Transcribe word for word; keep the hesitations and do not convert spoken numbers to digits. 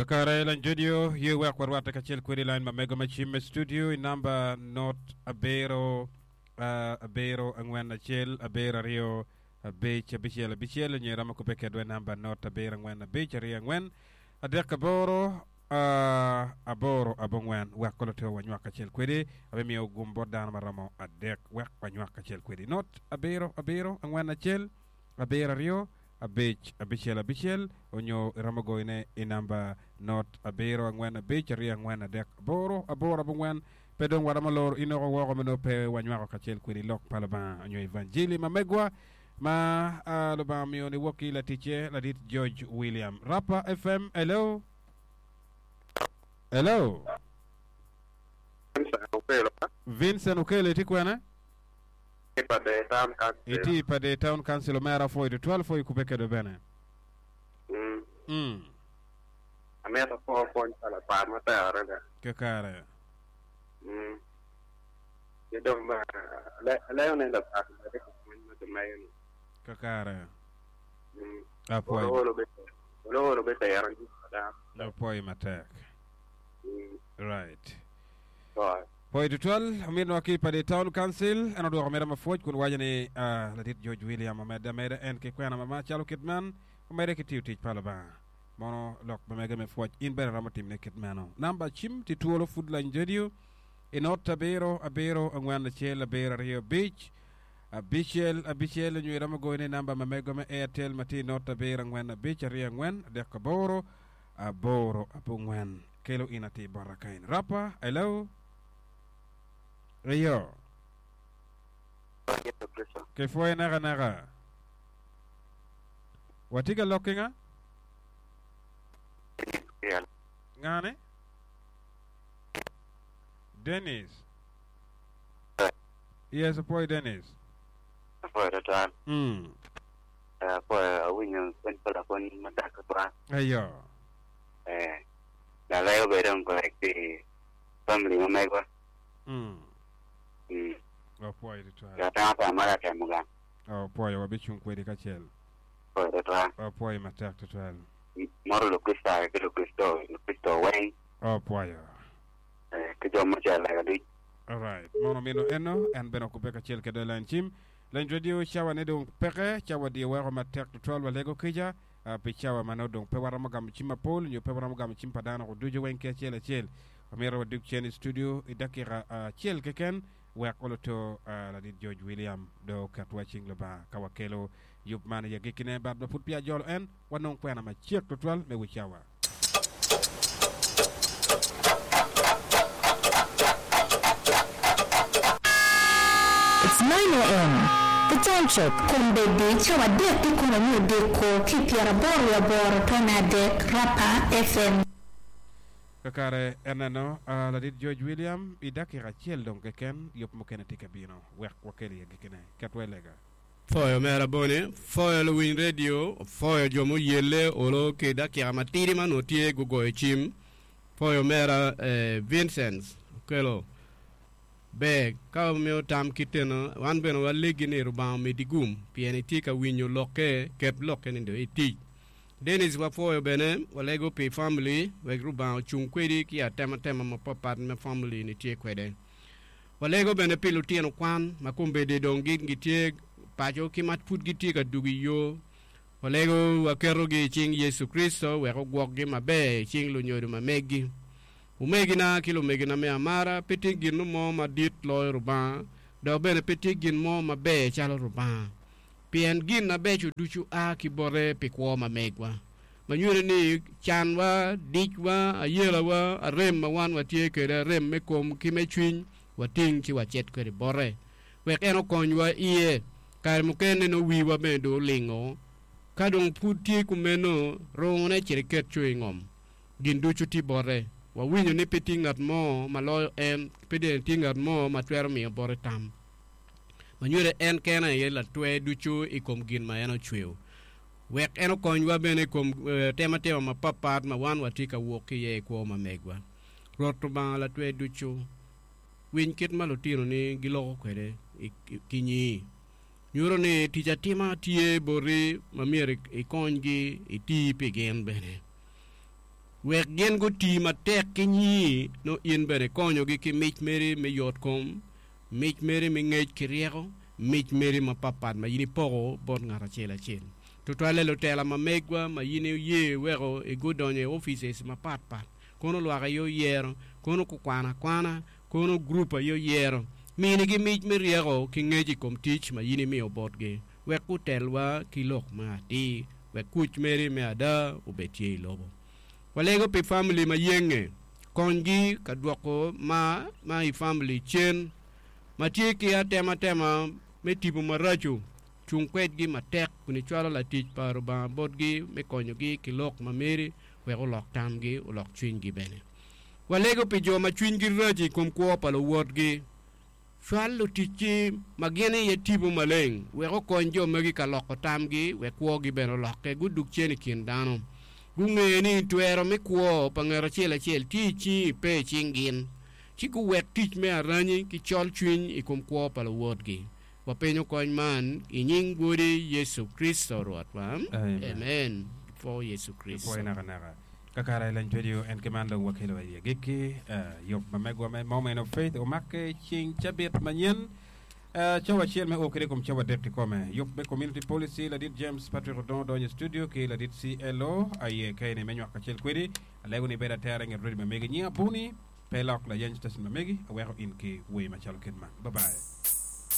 Kakare lan studio ye wek warwate kacel kwedi line ma mego ma cim e studio i namba not abiro uh, abiro angwen acel abiro aryo abic abicel abicel onyo iromo kubbe kedwa i namba not abiro angwen abic aryo angwen adek aboro uh, aboro abongwen wek kolo wanywak kacel kwedi abimiyo gum bot dano maromo adek wek wanywak kacel kwedi not abiro abiro angwen acel abiro aryo abic abicel abicel onyo iromo goyone i namba not abiro angwen abic aryo angwen adek aboro aboro abongwen pe dong waromo loro inoko woko meno pe wanywako kacel kwedi lok pa Lubanga onyo evanjili ma megwa ma uh, Lubanga omiyo ni wok ki laticce ladit George William Rapa F M. Hello, hello. Vincent Okelo iti kwene iti pa the town council omera foi to twelve foi kupe kedo bene. Mm. Mm. Ameta po pon pala par matek adada. Kakare. Mm. Ki dong ba aleo ne lapat ma ka pwony ma kimeyo ni. Kakare. Mm. Apoi. Olo olo be olo olo be tero ni ada. Apoi matek. Mm. Right. Right. Poi tutwal ominwa ki pa the town council en odwoko mera mapwoc kun waco ni uh, ladit George William omedde ameda en ki kwena mama calo kit man omede ki tiyo tic pa Lubanga mono lok ma mege me pwoc in bene romo timne kit meno namba cim ti twolo Food Line Radio i not abiro abiro angwen acel abiro aryo abic abicel abicel onyo iromo goyone namba ma mego me Airtel ma tye i not abiro angwen abic aryo angwen adek aboro aboro abongwen kelo in atir bota kain Rapa. Hello. Eyo. Kipwoyo naka naka. Watye ka lok ki nga? Ngane? Dennis. Yes, opwoyo Dennis. Apwoyo twatwal. Mm. Apwoyo awinyo pwony pa lapwony matek twatwal. Eyo. Eh, lalego bedo nkwek pi family ma megwa. Mm. Mm. Opwoyo twatwal. Jatanga pa mara temo gang. Opwoyo wabicung kwedi kacel. Apwoyo twatwal. Opwoyo matek twatwal. Moro Lukricitayo ki Lukricito, Lukricito weng. Opwoyo. Eh, ki jo mucel lega duc. Alright. Mono mino eno en bene okube kacel kede line cim. Line radio cawa ne dong peke cawa di weko matek twatwal walego kica uh, pi cawa ma nongo dong pe waromo gamo cim mapol nyo pe waromo gamo cim pa dano ducu weng ki acel acel. Omyero wadug cen i studio i dakika acel uh, keken wek oloto uh, ladit George William do oketwa cing Lubanga ka wakelo yub man i agikine bat ma pud peya jolo en wanong kwena macek twatwal me wi cawa. It's nine A M. The time check. Kombeddi cawa adek ki kome me odiko ki pyeraboro aboro tone adek Rapa F M. Kakare eneno uh, ladit George William i dakika acel dong keken yub mukene tye ka bino wek wakel i agikine ketwa i lega. Foyo mera bone, foyo luwiny radio, foyo jo muyelle olo ki dakika matidi ma nongo tye gugoyo cim, foyo mera eh, Vincent Okelo. Ber, ka omiyo tam kiteno, wan bene walegi ni Rubanga omedi gum, pien itye ka winyo lokke, ket lokke ni do itic. Dennis wafoyo bene, walego pi family, wek Rubanga ocung kwedi ki atematema mapapat me family ni tye kwede. Walego bene pi lutino kwan, ma kombeddi dong gin gitye paco ki ma pud gitye ka dugo i yo. Walego waketogi i cing Yecu Kristo wek ogwokgi maber i cing lunyodo ma meggi. Omegina ki lumegina me amara, pe tye gin mo madit loyo Rubanga, dok bene pe tye gin mo maber calo Rubanga. Pien gin mabeco ducu a ki bote pi kwo ma megwa. Ma nyuto ni canwa, dicwa, ayelawa, arem ma wan watye kwede, arem me kom ki me cwiny, wating ci wacit kwede bote. Wek en okonywa iye, kare mukene no wiwa bene do olingo, ka dong pud tye kumeno, rungone cito iket co i ngom. Gin ducu tye bote. Wawinyo ni pe tye ngat mo ma loyo en, pe dene tye ngat mo ma twero miyo bote tam. Ma nyuto en kene aye latwe ducu i kom gin ma en ocweyo. Wek en okonywa bene i kom eh, tematema mapapat ma wan watye ka wok ki iye i kwo ma megwa. Rwot Rubanga latwe ducu, winy kit ma lutinoni giloko kwede ki nyingi. Nyuto ni tic atima tye boti ma myero ikonygi iti pi gin bene. Wek gin guti matek ki nyi no in bene konyogi ki mic meri me yot kom, mic meri me ngec ki ryeko, mic meri mapapat ma in ipoko bot ng'at acel acel. Tutwalle lutela ma megwa ma in oye weko igudonyo i offices mapatpat. Kono lwak aye oyero, kono kukwano akwana, kono grup aye oyero. Minigi mic me ryeko ki ngec i kom tic ma in imiyo botgi. Wek gutelwa ki lok ma atir, wek kuc meri me ada obed tye i lobo. Walego pi family ma yenge, konygi ka dwoko ma ma i family cen, ma tye ki atematema me tipo maraco, cung kwedgi matek kun icwalo latic pa Rubanga botgi me konyogi ki lok ma meri wek olok tamgi, olok cwinygi bene. Walego pi jo ma cwinygi rac i kom kwo pa luwotgi. Cwal luticci ma gin iye tipo maleng wek okony jo magi ka loko tamgi wek kwogi bene olokke gudug cen i kin dano. Gung'e ni twero me kwo pa ng'at acel acel tye i cingi pe i cing gin. Ci guwek tic me aranyi ki col cwiny i kom kwo pa luwotgi. Wapenyo kony man i nying Wodi Yecu Kricito Rwotwa. Amen. Amen. For Yecu Kricito. Pwoyo nakanaka. Kakara i Lany Radio en ki man dong wakelo wa i agikki uh, yub ma megwa me Moment of Faith omake ceng cabit manyen uh, cawa acel me o kede kom cawa adek kikome. Yub me Community Policy ladit James Patrick Odongo donyo i studio ki ladit C L O aye kaeni me nywako kacel kwedi. Alego ni bedo atera i nget radio ma megi. Nyinga Buni pe lok layeny station ma megi aweko in ki wer macalo kit man. Bye bye.